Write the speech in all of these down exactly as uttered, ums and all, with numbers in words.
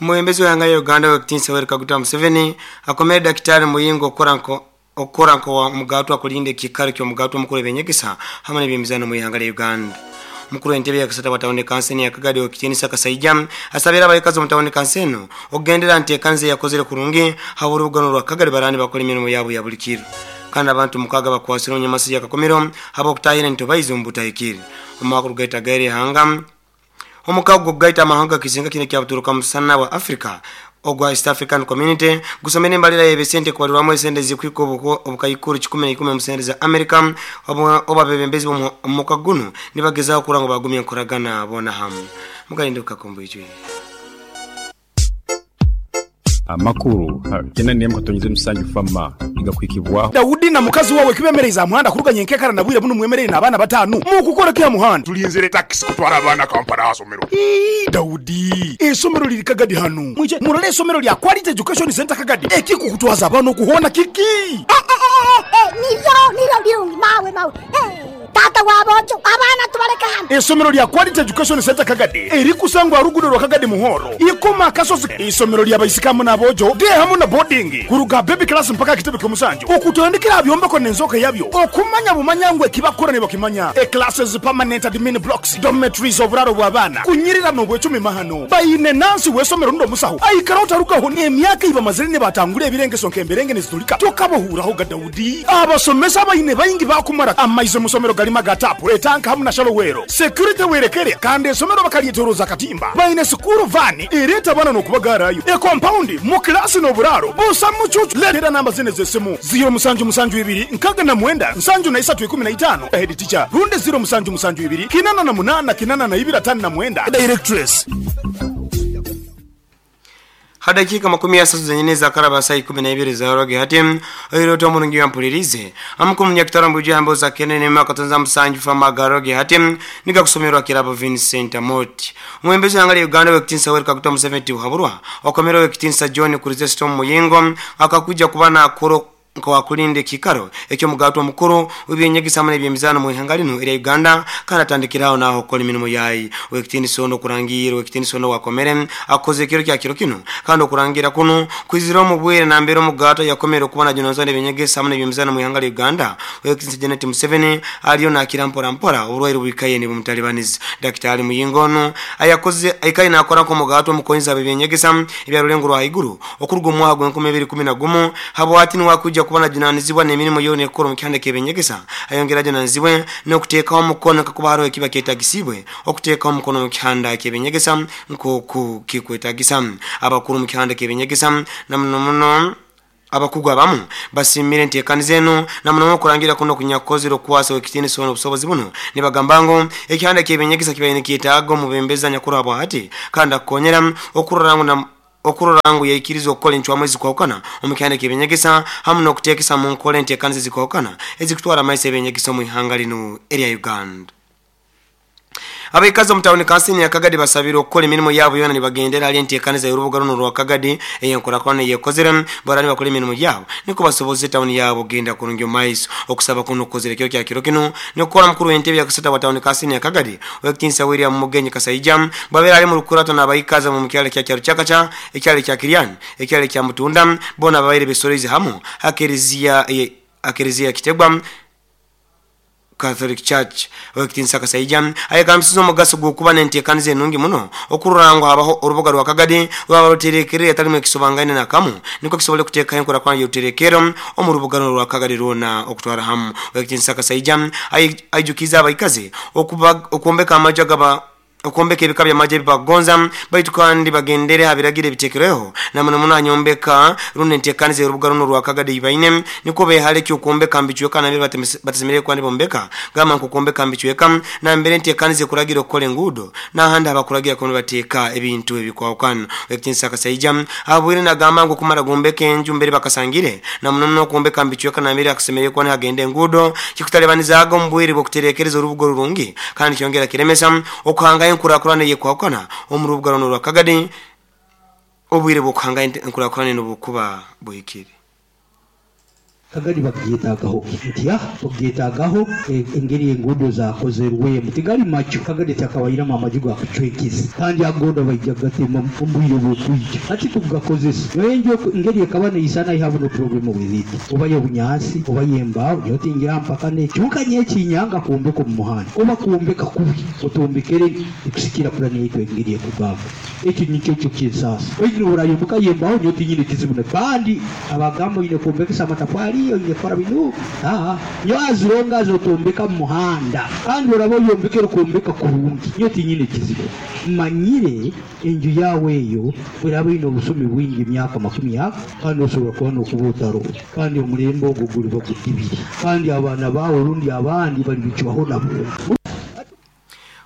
Omwebembezi w'ihanga lya Uganda Owekitiinisa Yoweri Kaguta Museveni akomere Daktari Muyingo okukora nko okukora nko omugato akulinda ekiikaro ky'omugato omukuru w'ebyenyegesa hamwe n'ebyemizaano mu ihanga lya Uganda. Omukuru w'entebe ya kasata wa tawuni kanso ya Kagadi Owekitiinisa Kasaija asabira abaikazi omu tawuni kanso eno okugendera nteekaniza eyakozere kurungi habw'orubugano rwa Kagadi barani bakora emirimo yabo ya buli kiro. Kandi abantu mukaaga bakwasire omu nyamasi ya Kakumiro habw'okutahira entobaizi omu butahikire. Omwaka ogugaita gaira ihanga omukago gw'okugaita amahanga kizinga kino ekyabuturuka musana bwa Africa ogwa East African Community gusomera embalira y'ebisente kubalirwamu esente zikuhika obukaikuru kikumi na ikumi omu sente za America oba abebembezi b'omukago guno nibagezaho kurora ngu bagumya enkoragana boona hamu. Mugalinde bukakombo ijwi. Amakuru kenda nemu katonyeze musanju fama igakwikibwaho. Daudi na mukazi wawe kibemereza muhanda kuruganya enkekara na bwire buno mwemerere n'abaana batanu mukukora kya muhanda. Tulinzire taxi kutwara abaana Kampala asomero. Daudi, esomero liri Kagadi hano, mwije murole esomero lya Quality Education Center Kagadi. Ekikukutwaza abaana okuhona kiki? Niryo niryo lirungi mawe mawe. Tata wabojo abaana tubaleka hano. Esomero lya Quality Education Center Kagadi erikusangwa rugudo rwa Kagadi Muhoro ikoma kasozi. Isomero lya baisikamu n'abojo de hamu na boarding kuruga baby class mpaka kitebe ky'omusanju okutandikira byombeko n'enzoka yabyo okumanya bumanyangwe kibakora ne bakimanya. E classes, permanent admin blocks, dormitories, oburaro bw'abaana kunyirira n'obwecumi mahano bayine nansi w'esomero ndo musaho aikara utarukaho n'emyaka ibamazire ne batangura ebirengeso nk'emberenge nezitulika tokabohuraho ga Daudi. Abasomesa bayine bayingi bakumara amaize musomero galima gatapu etanka hamu na shalowero security werekere kandi esomero bakalyetoroza katimba bayine sukuru vani ereta bana n'okubagarayo e compound mu klasi n'oburaro busa mucucu. Letera namba zine z'essimu ziro musanju musanju ibiri nkaga na mwenda nsanju na isatu ikumi na itano head teacher runde ziro musanju musanju ibiri kinana na munana kinana na ibiri atano na mwenda directress. Hadakika makumi asatu zenyine za karaba saa ikumi na ibiri za roge hati oyiroto omurungi yampulirize amukumu nyakitara mbuji hambo za kenene makatonza musanju fama garoge hati niga kusomerwa kirabo Vincent Amoti. Omwembezi w'ihanga lya Uganda Owekitiinisa Yoweri Kaguta Museveni Tibuhaburwa okomera Owekitiinisa John Chrysostom Muyingo akakuja kuba nakoro nkawakulinda ekikaro ekyomugato omukuru w'ebyenyegesa hamwe n'ebyemizaano mu ihanga lino erya Uganda kandi atandikiraho naho okukola emirimu yayi. Owekitiinisa ono okurangira Owekitiinisa ono wakomere akoze ekiro kya kiro kino kandi okurangira kuno kwizira omu bwire nambere omugato yakomere okuba najunanizibwa n'ebyenyegesa hamwe n'ebyemizaano mu ihanga lya Uganda Owekitiinisa Janet Museveni aliyo nakira mpora mpora oburwaire bwikaye nibumutalibaniza. Daktari Muyingo ono ayakoze aikaye nakora nk'omugato omukonzi ab'ebyenyegesa ebyarulengo rwa haiguru okuruga omu mwaka gw'enkumi ibiri ikumi na gumu habwati niwakuja kuba najunanizibwa n'emirimu yoona ekukora omu kihanda ky'ebyenyegesa ayongera ajunanizibwe n'okuteekaho omukono kakuba hariho ekiba kyetagisibwe okuteekaho omukono mu kihanda ky'ebyenyegesa nk'oku kikwetagisa. Abakuru mu kihanda ky'ebyenyegesa na muno muno abakugu abamu basimire enteekaniza eno na muno muno okurangira kuno kunyakozire okukwasa Owekitiinisa ono obusobozi buno nibagamba ngu ekihanda ky'ebyenyegesa kibaire nikyetaaga omubembezi anyakuru habwahati kandi akukonyera okurora ngu na okurora ngu yaikiriza okukola encwamu ezikwahukana omu kihanda ky'ebyenyegesa hamu n'okuteekesa mu nkola enteekaniza ezikwahukana ezikutwara amaiso ebyenyegesa omu ihanga lino erya Uganda. Abaikazi omu tawuni kansini ya Kagadi basabire okukola emirimu yabo yoona nibagendera hali enteekaniza y'orubuga runo rwa Kagadi ey'enkorakorana eyekozere barani bakora emirimu yabo niko basoboze tawuni yabo kugenda kurungi omu maiso. Okusaba kuno kukozere ekiro kya kiro kino nikukola mukuru w'entebe ya kasata wa tawuni kansini ya Kagadi Owekitiinisa William Mugenyi Kasaija bwabeera ali mu lukurato n'abaikazi mu kyalo kya Kyarukyakaca, ekyalo kya Kiryani, ekyalo kya Mutunda boona babaire besoreze hamu akereziya akereziya Kitegwa Catholic Church. Owekitiinisa Kasaija ayegambisiza omugaso gw'okuba n'enteekaniza enungi muno okurora ngu habaho orubuga rwa Kagadi rwaba ruterekerere atalimu ekisobangaine nakamu niko kisobole kuteekaho enkorakorana y'oruterekero omu rubuga runo rwa Kagadi rwona okutwara hamu. Owekitiinisa Kasaija aijukiza abaikazi okwombeka amaju agaba okwombeka ebika by'amaju ebibakugonza baitu kandi bagendere ha biragiro ebiteekerweho na muno muno hanyombeka runo enteekaniza y'orubuga runo rwa Kagadi ibaine niko behale eky'okwombeka mbicweka nambere batasemereire kuba nibombeka gamba nk'okwombeka mbicweka nambere enteekaniza ekuragira okukola enguudo n'ahandi habakuragira kuba nibateeka ebintu ebikwahukana. Owekitiinisa Kasaija abwire nagamba ngu okumara gombeka enju mbere bakasangire na muno muno okwombeka mbicweka nambere hakusemereire kuba nihagenda enguudo kikutalibanizaaga omu bwire bw'okutereekereza orubuga orurungi kandi kyongera kiremesa okuhangayo enkurakurana eyekwahukana omu rubuga runo rwa Kagadi obwire bw'okuhanga enkurakurana eno bukuba buhikire. Kagadi bagyetagaho nti ah tugyetagaho engeri enguudo zakozerwemu tigali macho. Kagadi takawairamu amaju gakucwekiza kandi agoda baija gatema ombwire bw'okwija ati tugakozesa enjo engeri ekaba neisana. I have no problem with it, oba y'obunyaasi oba y'embaawo, nyotingira mpaka nekyonka nyekinyanga kwombeka omu muhanda oba kwombeka kubi otombekere ekusikira pulani yaitu engeri ekugamba. Ekyo nikyo kyo kyensasa oine orayomboka yembaawo nyotinyine kizibu na kandi abagamba oine kwombekesa amatafari oine kukora binu ah nyo azironga azotombeka mu muhanda kandi oraba oyombekere kwombeka kurungi nyotinyine kizibu. Manyire enju yawe eyo bweraba ine obusumi bwingi emyaka makumi ako kandi osobola kuba n'okuba otaro kandi omulembe ogwo guliba gudibiri kandi abaana bawe rundi abandi balibicwaho nabo.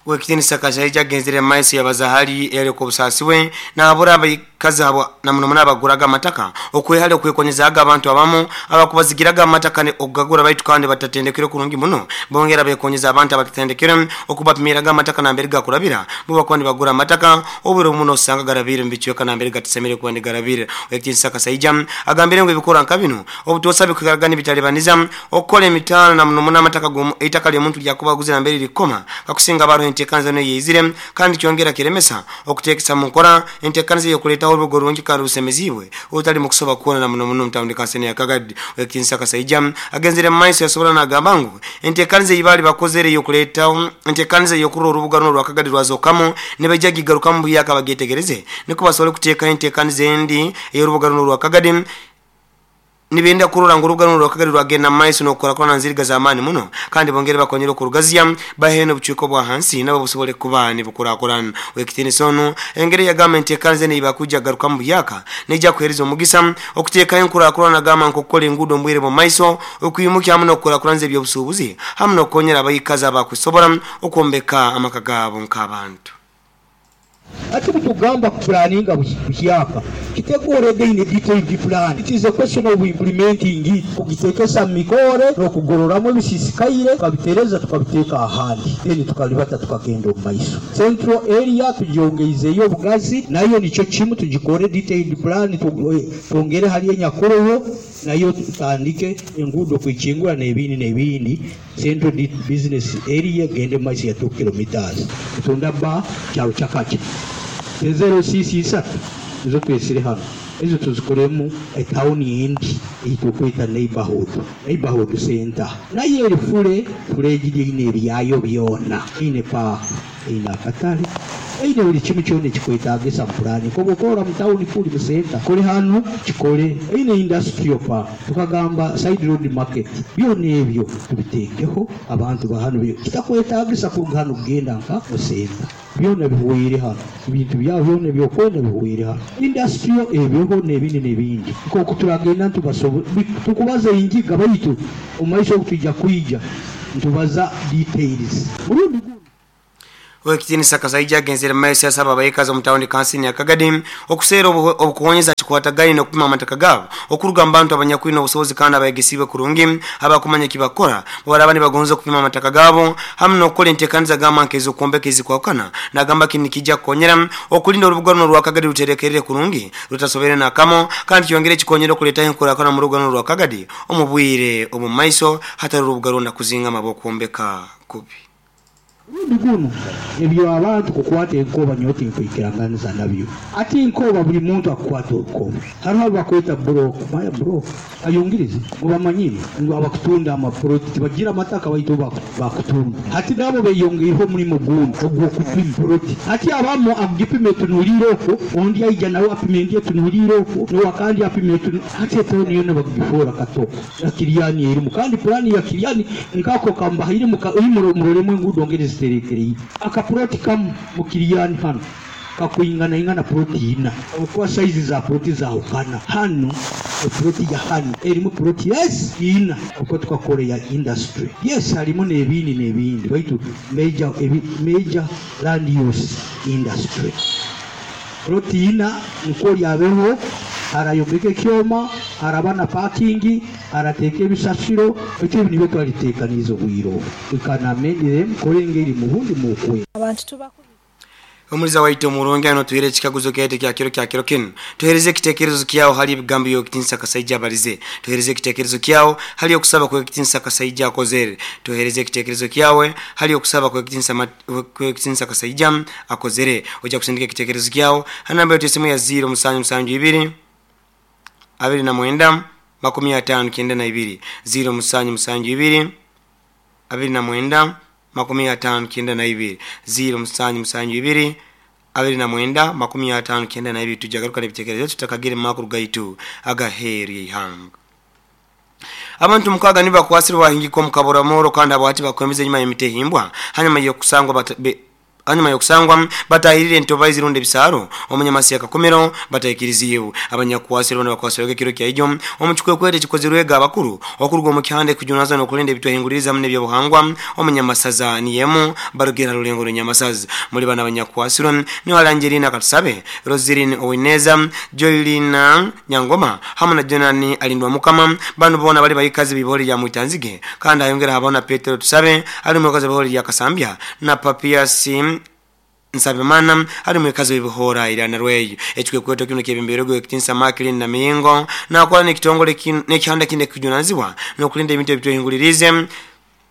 Wekitinisa Kashaija agenzere maisi yabazahali eriko busasiwe na abura abakazi abo na muno muno abaguraga amataka okwehale okwekonyezaga abantu abamu abakubazigiraga amataka ne okugagura baitu kandi batatendekere kurungi muno bongera bekonyeza abantu abatatendekere okubapimiraga amataka nambere gakurabira bo bakwandi bagura amataka oburo muno osanga garabire mbichweka nambere gatisemere kwandi garabire. Wekitinisa Kashaija agambire ngo ebikora nka bino obutosa bikugaragana bitalibaniza okukola emitano na muno muno amataka gomu eitaka ly'omuntu lyakubaguze nambere likoma kakusinga baro entekanza no yizire kandi kyongera kiremesa okutekesa mu nkora entekanza yokuleta orugo rungi kandi rusemezibwe otali mu kusoba kuona na muno muno mutawundi kansene ya Kagadi. Wekitinisa Kashaija agenzere maiso yasobola nagamba ngu entekanza ibali bakozere yokuleta entekanza yokurora orubuga runo rwa Kagadi rwazokamo ne bajja gigaruka mu buyaka bagetegereze niko basobole kuteeka entekanza endi ey'orubuga runo rwa Kagadi nibenda kurora ngo urubuga runo rwa Kagadi rwagenda maiso n'okukora kona nziriga zamani muno kandi bongere bakonyera okurugazya bahene obucweko bwa hansi nabo busobole kuba nibukurakurana. Wekitinisa ono engeri ya gavumenti ekanze nibakuja garuka mu buyaka nejja kuhereza omugisa okuteekayo enkurakurana gamba nkokukola enguudo mbwire mu maiso okuyimukya hamu n'okukurakuranza ebyobusuubuzi hamu n'okukonyera abayikazi abakusobora okwombeka amaka gaabo nk'abantu. Ati kutugamba kupulaninga buhyaka kiteguure in detailed plan. It is a question of implementing it, kugitekesa mikore n'okugororamu ebisisikaire tukabitereza tukabiteeka ahandi then tukalibata tukagenda omu maiso. Central area tugyongeizeyo obugazi nayo nikyo kimu tugikore detailed plan twongere hali enyakuroho nayo tutandike enguudo kwikingura n'ebindi n'ebindi. Central business area gende mu maiso ya two kilometers tunda ba kyalo kyakaki zero six isatu nizo twesire hano ezo tuzikoremu etawuni endi eyitukweta neighborhood neighborhood center nayo eri fule fulegiri eine ebyayo byona eine park eine akatale eine buli kimu kyona ekikwetagisa pulani koba okora mu tawuni fuli mu center kole hano kikole eine industrial park tukagamba side road market byona ebyo tubiteekeho abantu ba hano kitakwetagisa kuruga hano kugenda nka mu center byona bihwere hano ebintu byabo byona ebyokwenda bihwere hano industrial ebyoho n'ebindi n'ebindi nk'oku turagenda ntubasobo tukubaza enjiga baitu omu maiso okutwijja kwija ntubaza details murundi. Wekitinisa Kashaija agenzere maiso yasaba abayikazi omu tawuni kansini ya Kagadi okuseera obukuhonyeza kikwatagaine n'okupima amataka gaabo okuruga mu bantu abanyakwine obusobozi kandi abayegesibwe kurungi abakumanya ekibakora baraba nibagonza okupima amataka gaabo hamu n'okukola enteekaniza gamba nk'ez'okwombeka ezikwawukana nagamba kini kijja kukonyera okulinda orubuga runo rwa Kagadi ruterekerere kurungi rutasobere nakamo kandi kyongere kikonyera okuleetaho enkurakurana mu rubuga runo rwa Kagadi omu bwire omu maiso hatari orubuga rwona kuzingama bw'okwombeka kubi. Rundi guno ebyo abantu kukwata enkoba nyoti nkwikiranganiza nabyo ati enkoba buli muntu akukwata orukoba hariho abakweta broke maya broke ayongirize mubamanyire ngu abakutunda amaproti tibagira amataka baitu bakutunda hati nabo beyongeireho omulimo gundi ogw'okupima proti hati abamu agipima etunuliire okwo ondi aija nawe apima endi etunuliire okwo nowakandi apima etunu hati etawuni yona bakugifoora katoko na Kiryani erimu kandi pulani ya Kiryani nkako kambahaire muroremu enguudo ngeri ziterekereye akaproti kamu mu Kiryani hano kakuingana ingana proti ina kwa size za proti zaukana hano proti ya hano erimu proti yes ina uko tukakore ya industry yes harimo n'ebindi n'ebindi baitu major ebi, major land use industry proti ina nko lyabeho arayombeka ekyoma araba na parking arateeka ebisasiro ekyo nibyo twaliteekaniza obwire obu we can amend them kore engeri mu bundi mukwe abantu tuba. Omuliza waitu omurungi ano tuhere ekikaguzo kyaitu kya kiro kya kiro kinu. Tuhereze ekitekerezo kyawo hali ebigambo by'okutinsa Kasaija abalize. Tuhereze ekitekerezo kyawo hali okusaba kw'ekitinsa Kasaija akozere. Tuhereze ekitekerezo kyawe hali okusaba kw'ekitinsa kw'ekitinsa Kasaija akozere. Ojja kusindika ekitekerezo kyawo ha namba yetu esimu ya zero musanju musanju ibiri abiri na mwenda makumi atano kenda na ibiri zero musanju musanju ibiri abiri na mwenda makumi atano kenda na ibiri zero musanju musanju ibiri abiri na mwenda makumi atano kenda na ibiri. Tujagaruka n'ebitekerezo tutakagire mu makuru gaitu agaheeri eihanga. Abantu mukaga nibakwasirwa bahingika omu kaburamoro kandi abahati bakwemeza enyuma y'emitehimbwa hanyuma y'okusangwa hanyuma yokusangwa batahirire entoba zirunde ebisaro omunyamasi yakakomero batahikiriziwe. Abanyakwasirwa n'abakwasirwa kiro kya ijo omuchukwekwere kikozirwega abakuru okuruga omu kihande kujunaza n'okulinda ebitwahinguririza mu n'ebyobuhangwa omunyamasaza niyemu barugera rulengo rw'enyamasaza. Muri bana abanyakwasirwa ni Alangelina Katusabe, Roseline Owineza, Joylina Nyangoma hamwe na Jonani Alindwa Mukama. Bano bona bali bayikazi bibori ya Mwitanzige kandi ayongera habona Petero Tusabe ali mukazi bihori ya Kasambya na Papiasi Nsabimana ali mwekazi w'ibihora ira na rweyo. Ekikwekweto kino kyebemberego ekitinsa Makirin na Mingo nakola n'ekitongole n'ekihanda kine kijunanizibwa n'okulinda ebintu ebitwehingulirize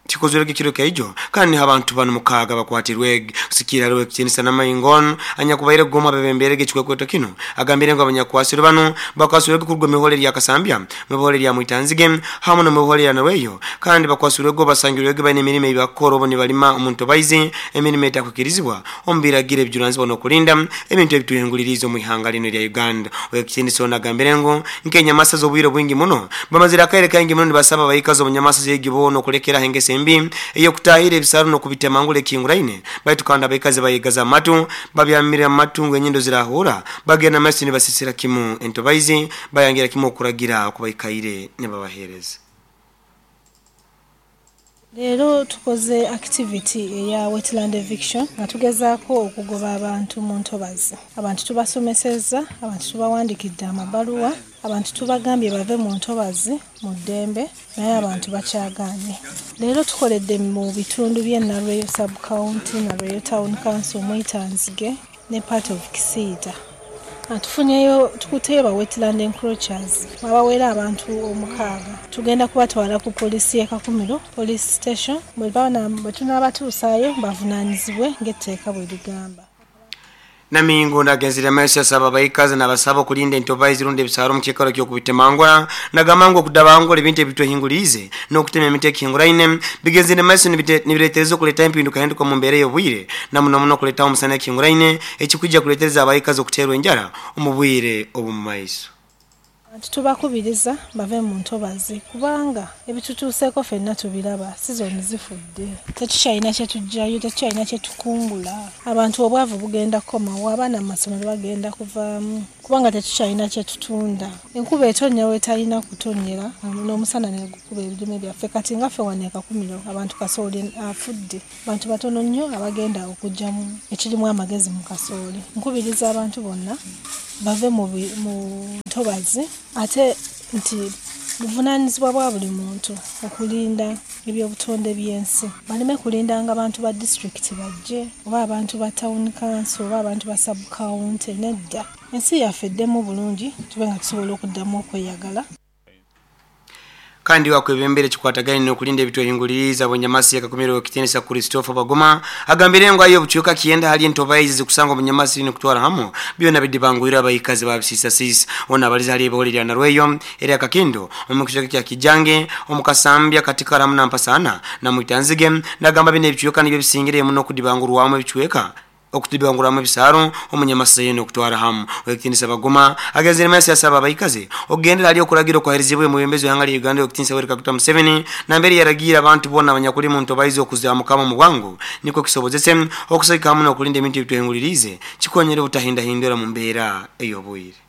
kikozerwe kiro kaijo kandi abantu bano mukaga bakwatirwe kusikira rwe ekitinsa na Maingon anyakubaire goma bebemberege ekikwekweto kino agambire ngo abanyakwasirwe bano bakwasirwe kurwa mihore ya Kasambya mihore ya Mwitanzige hamwe no mihore ya Narweyo kandi bakwasirwe go basangirwe bane emirimo ibakoro bo nibalima omuntu baize emirimo etakukirizibwa ombiragire ebijunanizibwa n'okulinda ebintu ebituhinguliriza mu ihanga lino lya Uganda. Owekitinisa onagambire ngo nkenyamasa z'obwire bwingi muno bamazira akaire kaingi muno nibasaba bayikazo omunyamasa z'egibo n'okulekera hengese embi eyokutahira ebisaro n'okubitemangula ekinguraine baitu kandi abaikazi bayigaza amatu babyamira amatungo enyindo zirahura bagenda masi nibasisira kimu entobaizi bayangira kimu okuragira okubaikaire nibabahereza. Leero tukoze activity eya wetland eviction nga tugezaako okugoba abantu mu ntobazi. Abantu tubasomesezza, abantu tubawandikidde amabaluwa, abantu tubagambye bave mu ntobazi mu ddembe, naye abantu bakyagaanye. Leero tukoledde mu bitundu by'e Nalweyo sub-county, Nalweyo town council, Mwitanzige ne part of Kisiita. Tufunyeyo tukuteyo ba wetland encroachers abawera abantu omukaaga. Tugenda kubatwala ku poliisi y'e Kakumiro police station bwe tunaabatuusaayo bavunaanyizibwe ng'etteeka bwe ligamba. Namingo ndagenzire mesi asaba bayikazi n'abasaba okulinda entoba zirunde ebisaro mu kikaro ky'okubitemangula nagamba okudabangula ebintu ebitwehingulize n'okutema emiti ekinguraine bigenzire mesi nibireetereza okuleeta empinduka hinduka mu mbeera y'obwire na muno muno okuleeta omusana ekinguraine ekikwijja kuleetereza abayikazi okuteerwa enjara omu bwire obw'omu maiso. Tubakubiriza bave mu ntobazi kubanga ebitutuuseeko ffenna tubiraba, sizoni zifudde, tetukyalina kye tuggyayo, tetukyalina kye tukungula. Abantu obwavu bugenda kukomawo, abaana mu masomero bagenda kuvaamu kubanga tetukyalina kye tutunda. Enkuba etonnya weetalina kutonnyera n'omusana ne gukuba ebirime byaffe. Kati nga ffe wano e Kakumiro abantu kasooli afudde, abantu batono nnyo abagenda okuggyamu ekirimu amagezi mu kasooli. Nkubiriza abantu bonna bave mu ntobazi ate nti buvunaanyizibwa bwa buli muntu okulinda ebyobutonde by'ensi. Baleme kulindanga abantu ba disitulikiti bajje oba abantu ba town council oba abantu ba sub county, nedda. Ensi yaffe eddemu bulungi tube nga tusobola okuddamu okweyagala. Kandi wakwebembere kikwataganye n'okulinda ebitwehinguliriza bwenyamasi yakakumiro ekitinisa Christopher Bagoma agambire ngo ayo buchuka kiyenda hali entoba izi kusanga omunyamasi n'okutwara hamu byonna bidibangwira abayikazi babisisa sisi ona abaliza hali ebiholi lya Narweyo era Kakindo omu kya Kijange omukasambya katika ramu na mpasana na Mwitanzige nagamba bino ebichuka nibyo bisingire muno okudibangurwamu ebichweka okutibanguramu ebisaro omunyamasi n'okutwara hamu. Owekitinisa Bagoma agezere masi asaba abayikazi okugendera ali okulagira okwaherizibwe mubembezi w'ihanga lya Uganda owekitinisa Yoweri Kaguta Museveni nambere yaragira abantu bonna abanyakuli mu ntobayizi okuzaamuka mu bwangu niko kisobozese okusayika hamu n'okulinda ebintu ebitwehingulirize kikonyere obutahindahindura mu mbeera ey'obwire.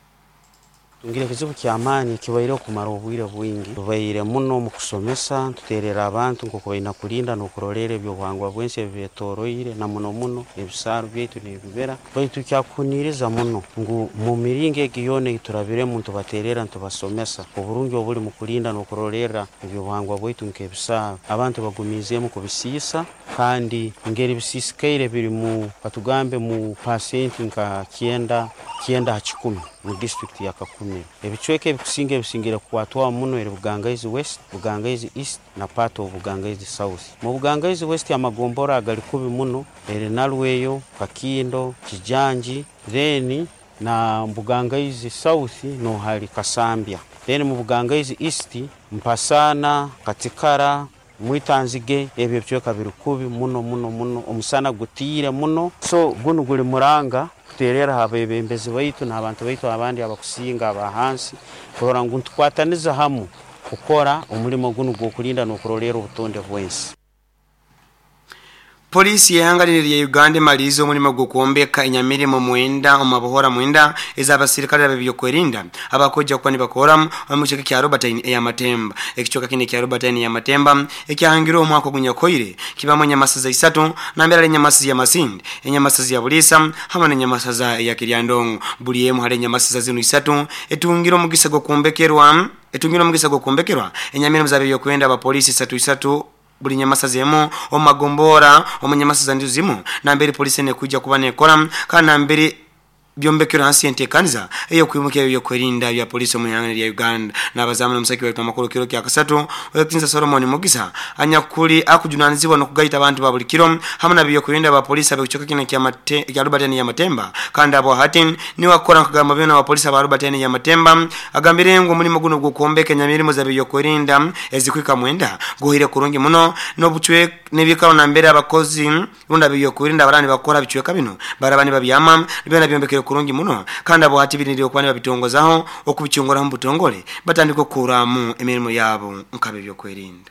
Tungire ekizibu ky'amaani kibaire okumara obwire bwingi. Tubaire muno mu kusomesa, tuteerera abantu nk'oku baina kulinda n'okuroleera ebyobuhangwa bw'ensi ebibeetoroire na muno muno ebisaaru byaitu n'ebibira. Baitu kyakuhuniiriza muno ngu mu miringo egi yoona ei turabiremu nitubateerera nitubasomesa oburungi obuli mu kulinda n'okurolerra ebyobuhangwa bwaitu nk'ebisaaru. Abantu bagumiizeemu kubisiisa kandi ngeri bisiisikaire biri mu katugambe mu pasenti nka kyenda kyenda ha kikumi mu disitulikiti ya Kakumiro. Ebicweka ebikusinga ebisingire kukwatwaho muno eri Bugangaizi West, Bugangaizi East na part of Bugangaizi South. Mu Bugangaizi West amagombora agali kubi muno eri Nalweyo, Kakindo, Kijanji, then na Bugangaizi South no hali Kasambya. Then mu Bugangaizi East Mpasana, Katikara, Mwitanzige, ebyo ebicweka biri kubi muno muno muno, omusana gutiire muno. So gunu guli muranga kuteerera abebembezi baitu n'abantu baitu abandi abakusinga abahansi kurora ngu ntukwataniza hamu kukora omulimo gunu gw'okulinda n'okuroleera obutonde bw'ensi. Polisi y'ihanga lya Uganda emaliize omulimo gw'okwombeka enyamirimo mwenda omu mabohora mwenda ez'abasirikale ab'ebyokwerinda abakojja kuba nibakora omu kicweka kya Robertine ey'Amatemba. Ekicweka kino ekya Robertine ey'Amatemba ekyahangirwe omwaka ogunyakoire kibamu enyamasaza isatu nambere hali enyamasaza ya Masindi, enyamasaza ya Buliisa hamwe n'enyamasaza ya Kiryandongo. Buli emu hali enyamasaza zinu isatu etungire omugisa gw'okwombekerwa etungire omugisa gw'okwombekerwa enyamirimo z'ab'ebyokwerinda abapoliisi isatu isatu buli nyamasaza emu omu magombora omu nyamasaza ndizo zimu nambere polisi nekujja kuba nekora kandi nambere byombekero hansi entekaniza ey'okwimuka ebyokwerinda bya polisi omu ihanga lya Uganda. N'abazamu n'omusaki waitu amakuru kiro kya kasatu Owekitinisa Solomon Mugisa anyakuli akujunanizibwa n'okugaita abantu ba buli kiro hamwe na byokwerinda ba polisi ab'ekicweka kino kya Mate- kya Robertine ya Matemba kandi abo hati niwe akora nkagamba byona aba polisi aba Robertine ya Matemba agambire ngu omulimo guno gw'okwombeka enyamirimo za byokwerinda ezikwika mwenda guhire kurungi muno n'obucwe n'ebikaro nambere abakozi rundi ab'ebyokwerinda abarani bakora bicweka bino baraba nibabyama byona byombekere kurungi muno kandi abo hati birindiriye okuba nibabitongozaho okubicyunguraho mu butongole batandika okukuramu emirimo yabo nk'ab'ebyokwerinda.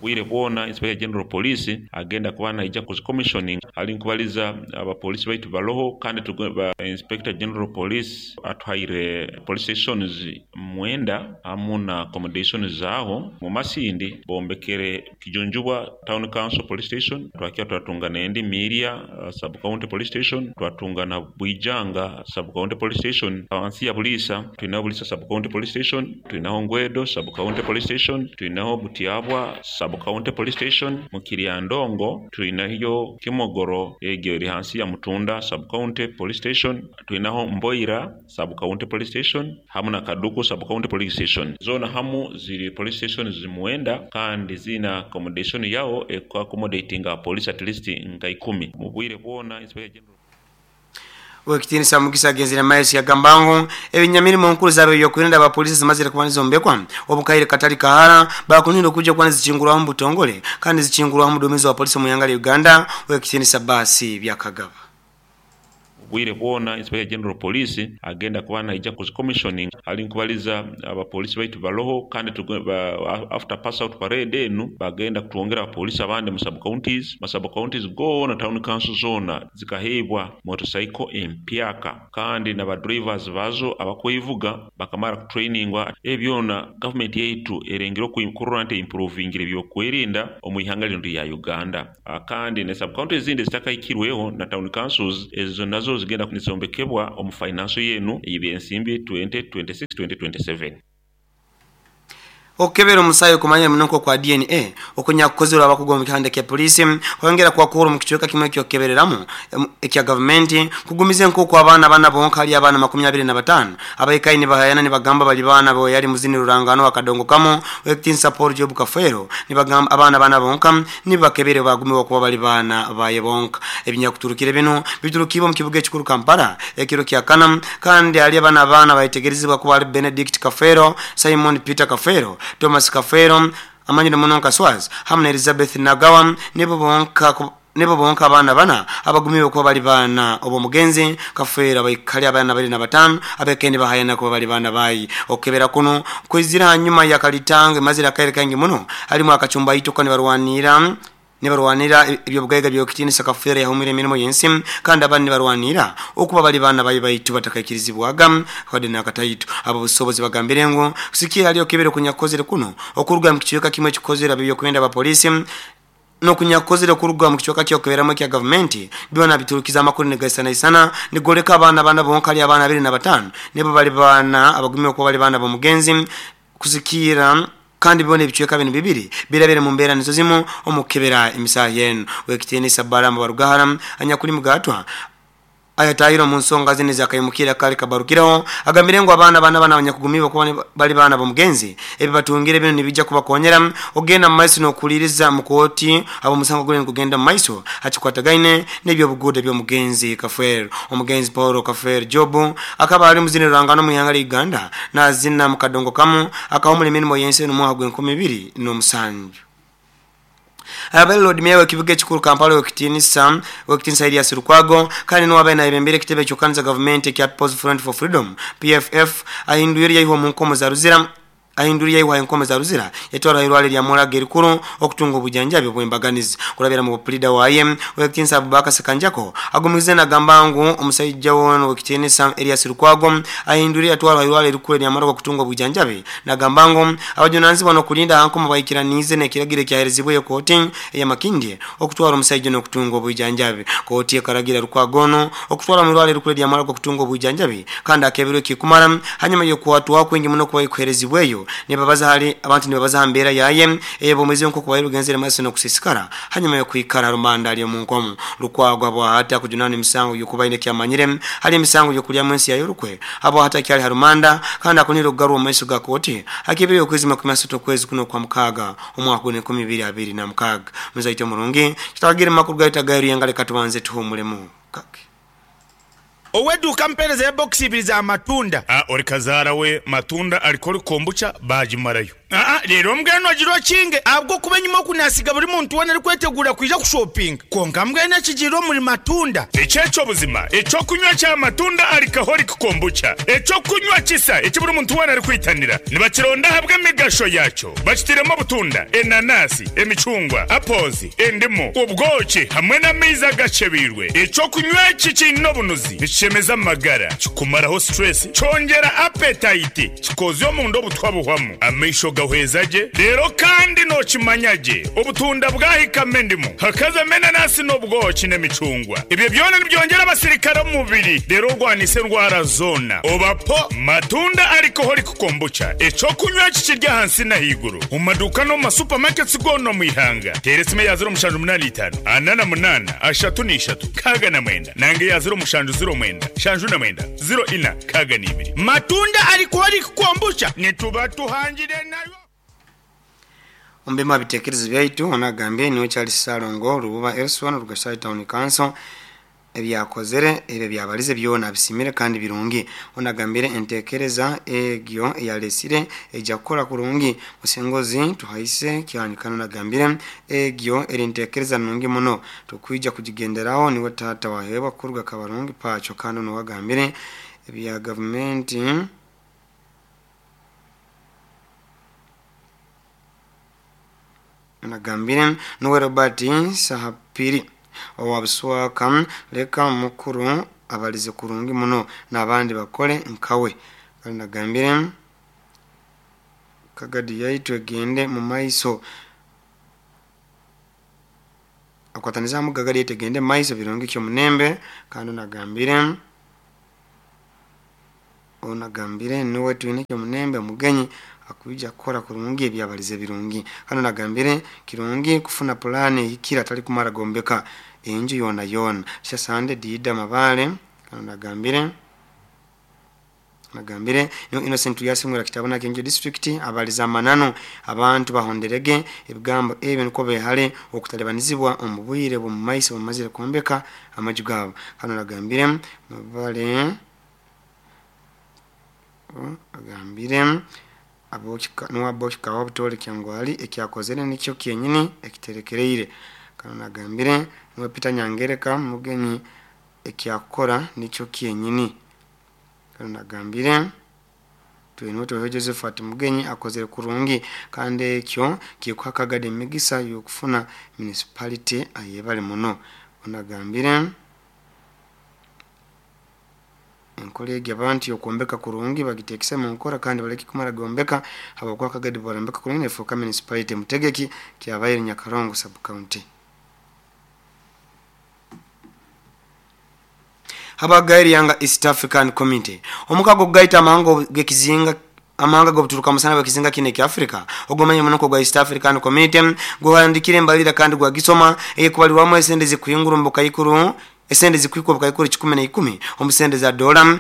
Bwire bwona Inspector General Police agenda kuba naija ku commissioning ali nkubaliza abapolisi baitu baloho kandi tugo- ba Inspector General Police atuhaire police stations mwenda hamu na accommodations zaaho. Mu Masindi bombekere Kijunjubwa Town Council Police Station, twakiya twatunga nendi Miria uh, Sub County Police Station, twatunga na Bwijanga Sub County Police Station. Awansi ya Buliisa twinaho Buliisa Sub County Police Station, twinaho Ngwedo Sub County Police Station, twinaho Butiabwa Sub County Police Station. Mu Kiryandongo twinayo Kimogoro egyo eri hansi ya Mutunda Sub County Police Station, twinaho Mboira Sub County Police Station hamu na Kaduku Sub County Police Station. Zona hamu ziri police station zimuwenda kandi zina accommodation yao eku accommodating police at least nka ikumi mu bwire bwona. Inspector General Owekitinisa Mugisa agenzere maiso yagamba ngu ebinyamirimo nkuru z'ab'ebyokwerinda abapolisi zimazire kuba nizombekwa obukaire katali kahara bakunire okujja kuba nizikingurwaho mu butongole kandi zikingurwaho omuduumizi wa polisi omu ihanga lya Uganda Owekitinisa Basi Byakagaba. Bwire bwona Inspector General Police agenda kuba naija ku commissioning ali nkubaliza abapolisi baitu baloho kandi tugo- ba, after pass out parade enu bagenda kutwongera abapolisi abandi mu sub counties ma sub counties gona town council zona zikahebwa motorcycle empyaka kandi n'aba drivers bazo abakwevuga bakamara kutrainingwa. Ebyona government yaitu erengere kurora nti improvingire ebyokwerinda omu ihanga lino lya Uganda. Ah, kandi ne sub counties ezindi zitakahikirweho na town councils ezo nazo zigenda nizombekebwa omu financial yenu ey'ebyensimbi twenty twenty-six twenty twenty-seven. Okukebera omusaayi okumanya muno kwa D N A okunyakukozerwa abakugu omu kihanda kya polisi kwongera kwakura omu kicweka kimwe ekyokukebereramu ekya gavumenti kugumiza nk'oku abaana bana bonka hali abaana makumi abiri na bataano abaikayi nibahayana nibagamba bali baana bo yali muzini rurangano akadongo kamo Owekitinisa Paul Job Kafeero nibagamba abaana bana bonka nibakebere bagumiwa kuba bali baana baye bonka. Ebinyakuturukire bino biturukibwa mu kibuga ekikuru Kampala ekiro kya kana kandi hali abaana abaana baitegerezibwa kuba ali Benedict Kafeero, Simon Peter Kafeero, Thomas Kafeero amanyire muno nka Swaz hamwe na Elizabeth Nagawa nibo bonka nibo bonka abaana bana abagumiwe kuba bali baana obo mugenzi Kafeero abaikali abaana bali na batano abekende bahayana kuba bali baana bayi. Okukebera kuno kwizira hanyuma ya kalitanga mazira kaire kangi muno halimu akachumba itoka nibarwanira Nibarwanira ebyobugaiga byokitinisa Kafeero yahumira emirimu y'ensi kandi abandi nibarwanira okuba bali baana bayi baitu batakaikirizibwaga wadde nakataitu. Abo busobozi bagambire ngu kusikia haliyo kibere kunyakozere kuno okuruga mu kichweka kimwe kikozera byokwenda abapolisi nokunyakozere kuruga mu kichweka kyokeberamu kya gavumenti byona biturukiza amakuru negaisana isana nigoleka abaana bana bonkali abaana abiri na batano nebo bali bana abagumye okuba bali bana bomugenzi kusikira kandi bibone ebichweka bino bibiri birabere mu mbeera nizo zimu omukebera emisaha yenu. Wekitiinisa Balamu Barugahara anyakuli mugatwa ayatahiro mu nsonga zine zakayimukira kale kabarukiraho agambire ngo abaana bana bana abanyakugumiba kuba bali bana bomugenzi ebi batungire bino nibijja kubakonyera ogenda mu maiso n'okuliriza mu kooti abo musango gule kugenda mu maiso hakikwatagaine n'ebyobuguuda by'omugenzi Kafeero. Omugenzi Paulo Kafeero Jobu akaba ali muzini rangano mu ihanga lya Uganda n'azina mu kadongo kamu akawumula emirimu y'ensi eno mu mwaka gw'enkumi ibiri n'omusanju. Abali Lord Mayor w'ekibuga ekikulu Kampala w'ekitinisa w'ekitinisa Erias Lukwago kandi n'owabaire nayebembera ekitebe ky'okukaniza gavumenti ekya People's Front for Freedom P F F ahindwire yaihwa omu nkomo za Ruzira ahinduriye yaihwa enkomo za Ruzira yatwara irwale lya Muraga erikuru okutunga obujanjabi obw'embaganizi kurabira mu pulida waye w'ekitinisa Abubakar Sekanjako agumize nagamba ngu omusajja wono w'ekitinisa Erias Lukwago ahinduriye yatwara irwale erikuru lya Muraga okutunga obujanjabi nagamba ngu abajunanizibwa n'okulinda ankomo bayikiranize n'ekiragiro ekyaherezibweyo kooti eya Makindye okutwara omusajja n'okutunga obujanjabi. Kooti ekaragira Lukwago ono okutwara mu irwale erikuru lya Muraga okutunga obujanjabi kandi akeberwe kikumara hanyuma y'okwatwa kwingi muno kuba ikuherezibweyo nibabaza hali abantu nibabaza mbeera yaye ebo mwezi nko kubayo rugenzere maso no kusisikara hanyuma yo kwikara rumanda ali mu nkomo. Lukwago abo hata kujunana emisango yokubaine kyamanyire hali emisango yokulya mu nsi ya yorukwe abo hata kyali harumanda kandi akunira okugarwa mu maiso ga kooti akibiri okwezi makumi asatu okwezi kuno kwa mukaga omwaka gwe enkumi ibiri abiri na mukaga. Muzaito murungi kitagire makuru gaita gairu yangale katubanze tuhumulemu kake. Oweduka mpereza ya box ibiri za matunda. Ah, ori kazara we matunda alikori kombucha bajimarayo. Ah ah, rero mbweno agiro kinge abwo kuba nyuma kunasiga buri muntu wana ari kwetegura kuja kushopping. Konka mbweno kijiro muri matunda. Echecho buzima, echo kunywa cha matunda alikahori kombucha. Echo kunywa kisa, echi buri muntu wana ari kwitanira. Nibakironda habwe migasho yacho. Bakitiremo butunda, enanasi, emichungwa, apples, endimu, ubwoki hamwe n'amaizi gachebirwe. Echo kunywa iki kino bunuzi. Chemeza magara kikumaraho stress chongera appetite kikozyo omundu obutwa buhwamu amaisho gahwezaje rero kandi no kimanyaje obutunda bwahikame endimu hakaza menanasi n'obwoki n'emicungwa ibyo byona nibyongera abasirikare mu mubiri rero rwanise ndwara zona obapo matunda alcoholic kombucha eco kunywa kikirya hansi na higuru mu maduka no mu supermarkets gono mu ihanga teresime ya zero mushanju munani itanu anana munana ashatu n'ishatu kaga na mwenda nange ya zero mushanju zero mwenda shanju na mwenda zero ina kaga n'ibiri matunda alcoholic kombucha nituba tuhangire nayo. Ombema bitekerezo byaitu onagambye niwe Charles Salongo Rububa Elson Rugasai Town Council ebyakozere ebyo byabalize byona bisimire kandi birungi. Onagambire entekereza egyo eyalesire ejja kukola kurungi musengozi tuhaise kyanikano nagambire egyo eri ntekereza nungi muno tukwija kujigenderaho niwe tata wahebwa kuruga kabarungi pacho kandi nowagambire ebya government nagambire nuwe Robert Sahapiri owabuswaka leka mukuru abalize kurungi muno n'abandi bakole nkawe. Kandi nagambire Kagadi yaitu egende mu maiso akwataniza mu Kagadi yaitu egende mu maiso birungi kyo munembe. Kandi nagambire onagambire nuwe twine kyo munembe mugenyi akuija kukora kurungi ebyabalize birungi. Hano nagambire kirungi kufuna plani ikira tali kumara gombeka enju yona yona sasande dida mabale. Hano nagambire nagambire no Innocent yasimura kitabona kenjo district abaliza manano abantu bahonderege ebigambo ebyo niko behale okutalebanizibwa omubwire bwo maiso bamazire kombeka amaju gabo. Hano nagambire mabale agambire abochika nuwa bochika wabutole kyangwali ekyakozere nikyo kyenyini ekiterekereire. Kano nagambire nuwe Peter Nyangereka mugenyi ekyakora nikyo kyenyini. Kano nagambire Twinoto Josephat Mugenyi akozere kurungi kandi ekyo kikuha Kagadi emigisa y'okufuna municipality ayebale muno. Onagambire enkola egi abantu yokuombeka kurungi bagitekese mu nkora kandi baleke kumara gombeka habwokuba Kagadi barambeka kurungi nefuuka municipality mutegeki kyabaire Nyakarongo sub county. Habagairi yanga East African Community omukago gaita amahanga gekizinga amahanga gobuturuka musana bakizinga kine ki Africa ogomanye munoko gwa East African Community gwahandikire mbalira kandi gwagisoma eyekubaliwamu esente zikuyungura mbukaikuru esente zikwikwa bukaikuru kikumi na ikumi omusente za dola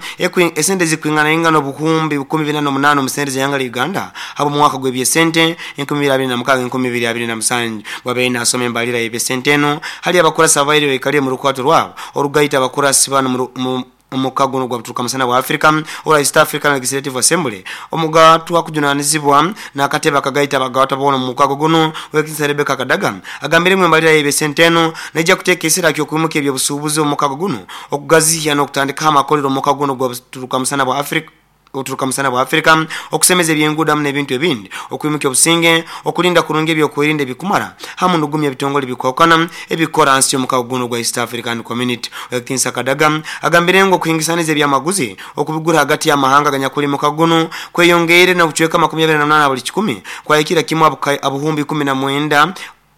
esente zikwingana ingano buhumbi bukumi bina n'omunaana omusente za yanga Uganda abo mu mwaka gw'ebyesente enkumi bibiri abiri na mukaaga enkumi bibiri abiri na musanju bwabaire nasoma embalira y'ebyesente eno hali abakurasi abaire baikaliye mu rukwato rwabo orugaita abakurasi bano mu omukago gwa buturuka musana wa Africa ora East African Legislative Assembly omugaatu akujunanizibwa n'akatebe akagaita abagawata bona mu mukago guno Wekinsa Rebecca Kadaga agambire mu mbalira y'ebyesente eno nejja kuteeka essira ky'okwimuka ebyobusuubuzi omukago guno okugaziya n'okutandika amakolero omukago guno gwa buturuka musana bwa Africa oturuka musana bwa Africa okusemeza ebyenguudo n'ebintu ebindi okwimuka obusinge okulinda kurungi ebyokwerinda ebikumara hamu n'okugumya ebitongole bikwawukana ebikora nsi y'omukago guno gwa East African Community. Wekinsa Kadaga agambire ngu okuhingisaniza ebyamaguzi okubigura hagati y'amahanga ganyakuli mukago guno kweyongeire n'obucweka makumi abiri na munaana buli kikumi kwahikira kimu abuhumbi kumi na mwenda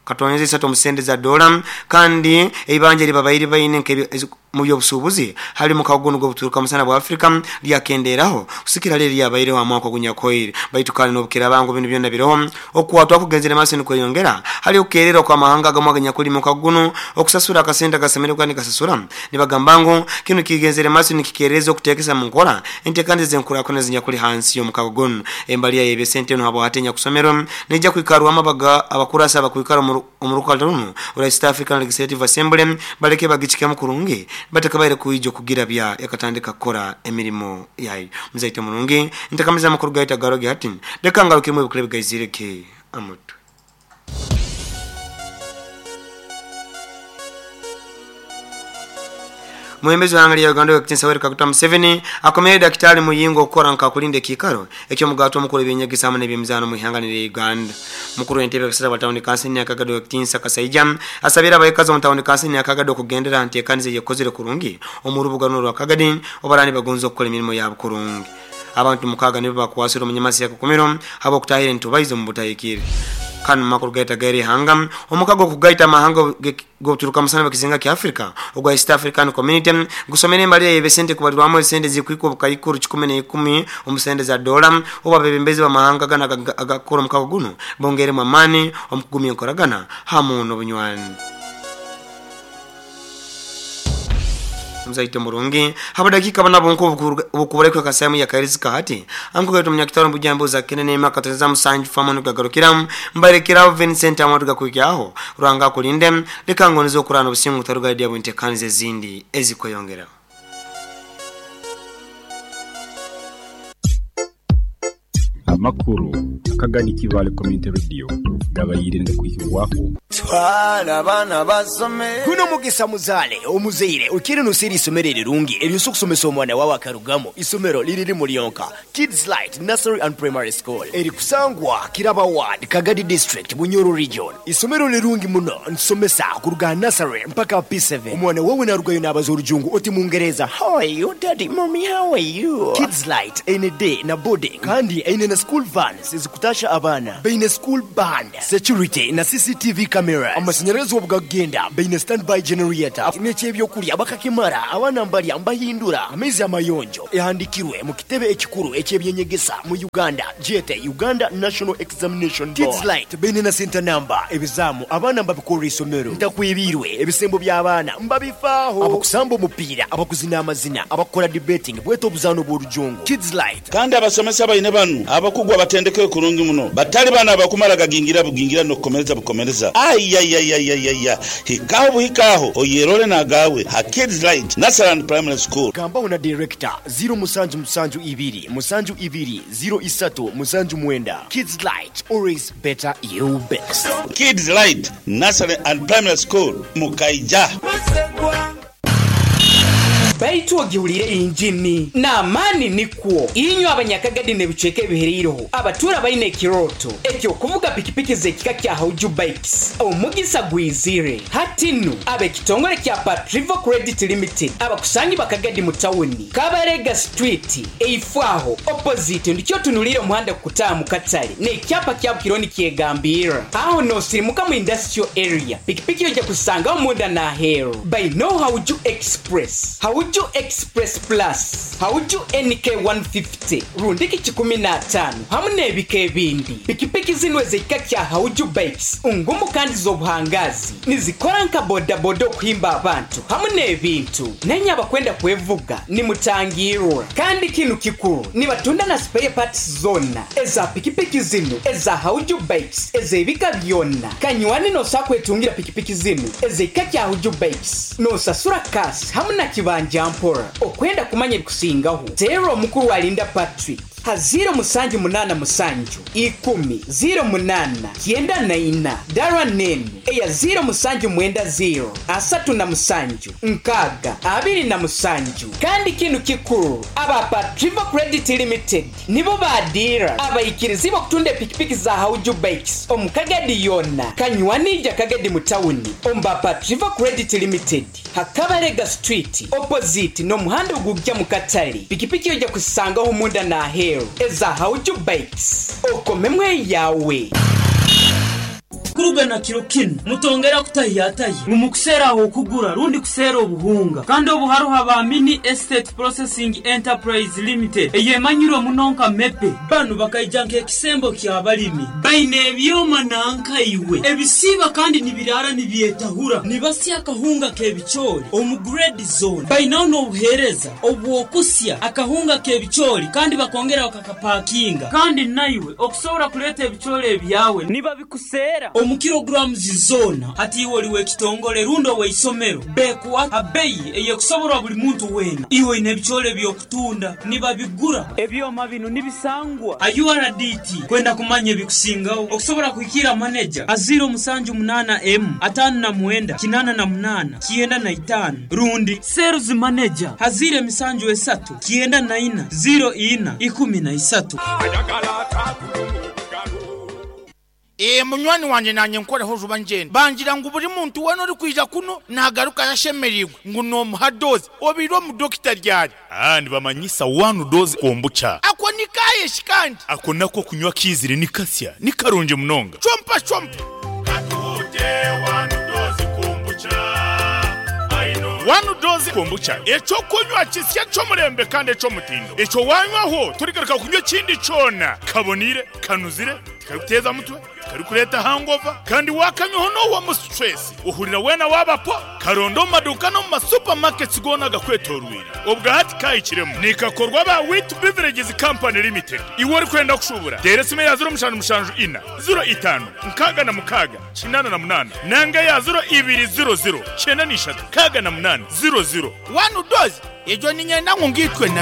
katoneze isatu omusente za dola kandi eibanja libabaire baine mu byobusuubuzi hali mukago guno gw'obuturuka musana bwa Africa lyakenderaho kusikira leri lyabaireho amwaka gunyakoire baitu kandi n'obukira bangu bino byonna biroho okuwatwa kugenzera maaso nikweyongera hali okukeererwa kw'amahanga agamwe aganyakuli mukago guno okusasura akasente akasemere kandi kasasura nibagamba ngu kino kigenzere maaso nikikeereza okuteekesa mu nkola enteekaniza z'enkulaakulana zinyakuli hansi y'omukago guno. Embalira y'ebyesente eno habwa hatenya kusomero nejja kwikarwamu abakurasi abakwikara omurukato runo ora East African Legislative Assembly baleke bagichikemu kurungi batakabaire kuijo kugira bya yakatandika kukora emirimo yayo. Muzaite mulungi ntakamiza amakuru gaita garoge hati leka ngarukiremu ebikuru bigaizireke amutwe. Mwembezi wa ya Uganda Wekinsa Yoweri Kaguta Museveni akomere Daktari Muyingo okukora nka kulinda ekikaro eky'omugato omukuru ebyenyegesa hamwe n'ebyemizaano mu ihanga lya Uganda. Mukuru w'entebe y'ekisasa bwa tawuni kansini ya Kagado Wekinsa Kasaija asabira abayikazi omu tawuni kansini ya Kagado okugendera nteekaniza eyekozire kurungi omu rubuga runo rwa Kagadi obarani bagonza okukora emirimo yabo kurungi. Abantu mukaaga nibo bakwasire omunyamasi ya Kakumiro habw'okutahira entubaizo mu butahikire. Kanu makuru gaita gairi hanga omukago kugaita amahanga goturuka musana bakizinga ki Africa ogwa East African Community gusomere embalira y'ebesente kubalirwamu esente zikwikwa bukaikuru kikumi na ikumi omusente za dola oba bebembezi b'amahanga gana agakora omukago guno bongeremu amaani omukugumya enkoragana hamu n'obunywani. Mzaite murungi haba dakika bana bonko obukubalekwa kasamu ya karizika hati ankugaito munyakitaro mbujambo za kenene makateza musanju famu nugagarukira mbarekera Vincent amatu gakwikyaho rwanga kulinde leka ngonizo kurana obusingu taruga dia buntekanize zindi ezikweyongera. Amakuru Kagadi Kibale Community Radio gabayire ndakwikirwako twala abana basome guno mugisa muzale omuzeire ukiri nusiri isomero erirungi eryosa okusomesa omwana wawe akarugamo isomero liriri mulionka Kids Light Nursery and Primary School erikusangwa Kiraba Ward Kagadi District Bunyoro Region. Isomero lirungi muno nsomesa kuruga nursery mpaka P seven. Omwana wawe narugayo n'abaza orujungu oti mungereza how are you daddy mommy how are you. Kids Light ene day na boarding kandi ene na school vans ezikutasha abana baine school band security na C C T V cameras amashanyarazi obugagenda baine standby generator n'ekyebyokulya bakakimara abana mbalya mbahindura amaizi amayonjo ehandikirwe mu kitebe ekikuru ekyebyenyegesa mu Uganda jete Uganda National Examination Board. Kids Light baine na center number ebizamu abana mbabikora isomero ntakwibirwe ebisembo by'abaana mbabifaaho abakusamba omupiira abakuzina amazina abakora debating bweto obuzano bw'orujungu Kids Light. Kandi abasomesa baine banu abakugwa batendeke kurungi muno batali bana abakumara gagingira bugingira nokukomereza bukomereza ayayayayaya hikaho buhikaho oyerole nagawe ha Kids Light Nursery and Primary School. Gambaho na director zero musanju musanju ibiri musanju ibiri zero isatu musanju mwenda. Kids Light, always better you best. Kids Light Nursery and Primary School Mukaija. Baitu ogihulire injini n'amaani nikwo inywe abanyakagadi n'ebicweka ebihereireho abatura baine ekiroto ekyokuvuga pikipiki z'ekika kya Hauju Bikes omugisa gwizire hatinu ab'ekitongole kya Patrivo Credit Limited abakusangi bakagadi mu tawuni Kabarega Street eifwaho opposite ndikyo tunulire omuhanda kukutaamu katale n'ekyapa kya Bukironi kyegambira aho nosirimuka mu industrial area pikipiki ojja kusangaho munda n'aheeru by no Hauju Express, Hauju Express Plus, Hauju N K one fifty rundiki kikumi na ataano hamu n'ebika ebindi. Pikipiki zino ez'ekika kya Hauju Bikes ngumu kandi z'obuhangazi nizikora nka bodaboda okuhimba abantu hamu n'ebintu nenye abakwenda kwevuga nimutangirwa. Kandi kinu kikuru nibatunda na spare parts zona eza pikipiki zino eza Hauju Bikes ez'ebika byonna. Kanywani nosakwetungira pikipiki zino ez'ekika kya Hauju Bikes nosasura kasi hamu na kibanja mpora. Okwenda kumanya ebikusingaho teera omukuru alinda Patrick ha ziro musanju munana musanju ikumi ziro munana kyenda na ina dara nenu eya ziro musanju mwenda ziro asatu na musanju nkaga abiri na musanju. Kandi kinu kikuru aba Patrivo Credit Limited nibo badira abaikirizibo kutunda pikipiki za Hauju Bikes omukagadi yonna kanywanija kagadi mutawuni omba Patrivo Credit Limited Hakabarega Street opposite n'omuhanda ogujja mu katale. Pikipiki ojja kusangaho munda na aheeru eza Hauju Bikes okomemwe yawe. Kuruga na kiro kinu mutongera kutahiyatayi mumukusera aho kugura rundi kusera obuhunga kandi obuharuha ba Mini Estate Processing Enterprise Limited eyemanyirwe munonka mepe banu bakaija nk'ekisembo ky'abalimi baine ebyoma nanka iwe ebisiba kandi nibirara nibyetahura nibasya akahunga k'ebicoori omu grade zone bainaho n'obuheereza obwokusya akahunga k'ebicoori kandi bakongera bakakapakinga kandi naiwe okusobora kuleeta ebicoori ebyawe nibabikusera omu kilograms zona hati iwe oliwe ekitongole rundo weisomero bekuwa abeyi eyekusoborwa buli muntu wena iwe ine ebicoori ebyokutunda nibabigura ebyoma bino nibisangwa a U R D T kwenda kumanya ebikusingaho okusobora kuhikira manager a zero musanju munana m atano na mwenda kinana na munana kienda na itano rundi sales manager hazire misanju esatu kienda na ina zero ina ikumi na isatu. E munywani wanje nanye nkoreho juba njenda bangira ngo buri muntu wano uri kwija kuno nagaruka yashemerirwe ngo no muhadoze obiro mu doctor ryari ah ndibamanyisa one dose kombucha ako nikaye shikandi ako nako kunywa kizire nikasya nikarunje munonga chompa chompa katute one dose kombucha One dose kombucha echo kunywa kisya cyo murembe kandi echo mutindo echo wanywaho turigaruka kunywa kindi cona kabonire kanuzire karikuteza mutwe karikureta hangover kandi wakanywaho no wa mu stress uhurira wena wabapo karondo maduka no mu supermarkets gona gakwetorwira ubwa hati kayikiremo nikakorwa ba Wheat Beverages Company Limited iwe uri kwenda kushubura deresime ya zero mushanu mushanju ina zero itanu nkaga na mukaga kinana na munana nanga ya zero ibiri zero zero cyenda nishatu kaga na munana zero zero one dose ejo ninyenda ngitwe na